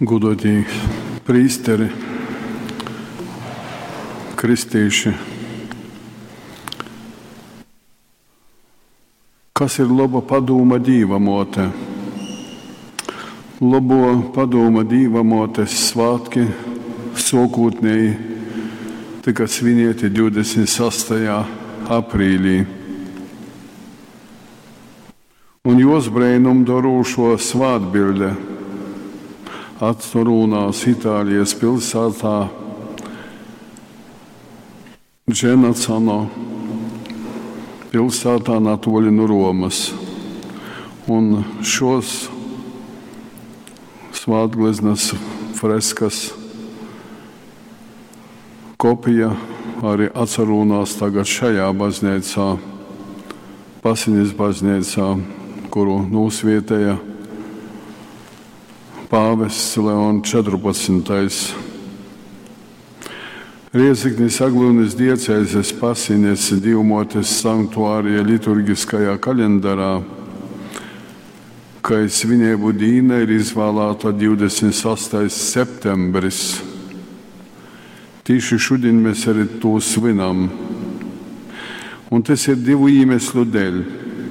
Gūduotī prīsteri, kristīši. Kas ir loba padūma Dīva muote? Lobuo padūma Dīva muotes svātki suokūtneji tyka svinieti 26. aprīlī. Un juos breinumdorūšuo svātbiļde atsarūnās Itālijas pilsātā Dženacano pilsētā natuoļi nu Romas. Un šos svātgleznas freskas kopija arī atsarūnās tagad šajā baznīcā, Pasinis baznīcā, kuru nūsvietēja pāvests Leon 14. Rieziknis Aglyunys diecezes Pasines Dīvmuotes sanktuārija liturgiskajā kalendārā, kai svineibu dīna ir izvālāta 28. septembris. Tīši šodien mēs arī to svinam. Un tas ir divu iemeslu dēļ.